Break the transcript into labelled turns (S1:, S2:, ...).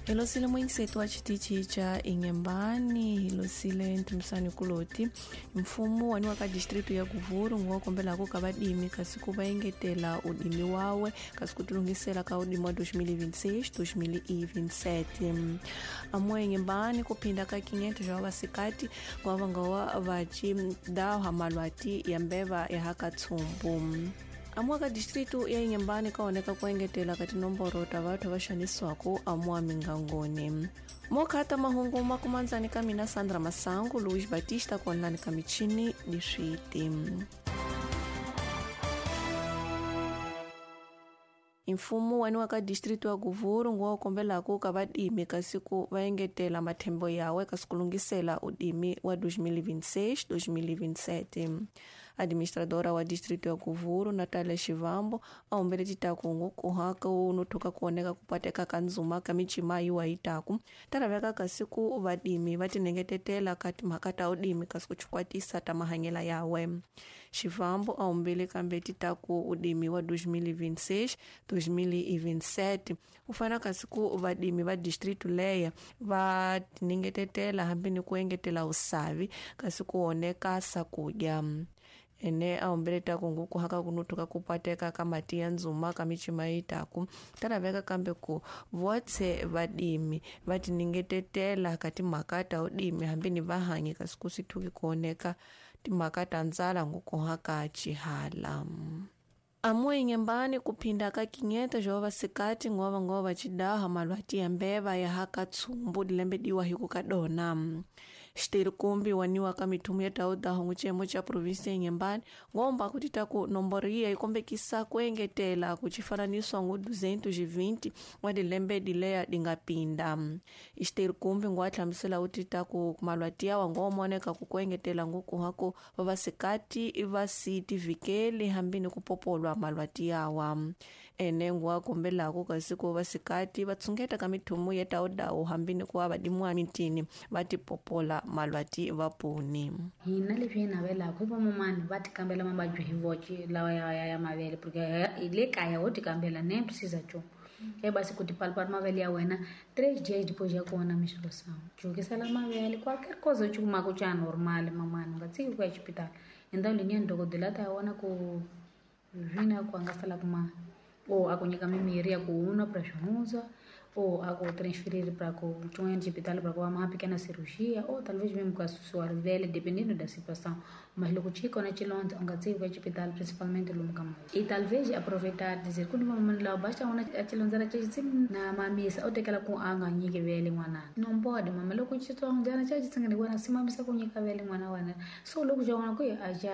S1: Hi losile muyingiseti wa xitichi xa Inhembane, hi losile Ntumisani Kuloti. Mfumo waniwa ka district ya Guvuru nguwa kombelako ka vadimi kasi ku va engetela udimi wawe kasi ku tilunghisela ka udimi wa 2026 2027. Amuwa Inhembane ku phinda ka 500 xa vavasikati nguva va nga wa vaci daha malwati ya mbeva ya haka tsumbu. Amuwa ka distritu ya Inhembane ka oneka ku engetela ka tinomboro ta vathu va xanisiwako amuwa mingangoni. Mokhata mahungu makumandzani ka mina Sandra Masangu, Luiz Batista konlani ka michini diswiti. Mfumo waniwa ka distritu ya Guvuru nguwa kombelako ka vadimi kasi ku va engetela mathembo yawe kasi ku lunghisela udimi wa 2026 2027. Administradora wa distritu ya Guvuru Natalia Shivambo a humbele titaku kuha ku nothuka kuoneka ku pateka ka ndzuma ka micima yiwa yitaku ta laveka kasi ku vadimi va tinengetetela ka timhaka ta udimi kasi ku chikwatisa ta mahanyela yawe. Shivambo a humbele kambe titaku udimi wa 2026 2027 u fana kasi ku vadimi va distritu leya va tinengetetela hambi ni ku engetela usavi kasi ku oneka sakudya. Ene a humbeleta ku nguku haka kunuthuka ku pateka ka mati ya ndzuma ka micima yitaku ta laveka kambe ku votse vadimi va tiningetetela ka timhaka ta udimi hambi ni vahanyi kasi ku sithuki ku oneka timhaka ta ndzala nguku haka chihala. Amuwa Inhembane ku phinda ka 500 xa vavasikati nguva va nga va chidaha malwati ya mbeva ya haka tsumbu dilembe diwa hi ku ka dona. Xitirikumbi waniwa ka mithumu ya taudaho n'wicemo xa provinsi ya Inhembane ngomba ku tita ku nomboro yiya yi kombekisa ku engetela ku xifananiswa ngu 220 wa dilembe dileya di nga pinda. Xitirikumbi nguva hlamusela u tita ku malwati yawa ngomoneka ku engetela nguku haku vavasikati va si tivikeli hambi ni ku popolwa malwati yawa. Ene nguwa kombelako kasi ku vasikati va tshungeta ka mithumu ya taudawu hambi ni ku va vadimiwa mitini va tipopola malwati va puni.
S2: Hina leswi hi navelaka i vamamani va tikambela mavabyi hi voxe lawa ya mavele porque hi le kaya ho tikambela ne precisa nchumu. E basi ku tipalipali mavele ya wena 3 dias depois ya kona menstruação. Jukisela mavele qualquer coisa u kumaka xa normal mamani u nga tshiki ku ya xipitala. Endhawu leyi dokodela ta vona ku vina ku a nga sala kuma ou a ku nyika mimirhi ya ku unwa pra swihuza ou a ku transferir pra ku xin'wanyana xipitala pra ku va ma pequena cirurgia ou talvez mesmo ku susiwa rivele dependendo da situação. Mas loko xi kona xilondza u nga tshiki ku ya xipitala principalmente lomu ka mavele. E talvez aproveitar dizer ku ni van'wana lava basta vona a xilondzana xa xi na mamisa u tekela ku a nga nyiki vele n'wanana. Não pode mama loko xitsondzana xa xi tsingani wena si mamisa ku nyika vele n'wana wa wena so loko xa vona ku a xa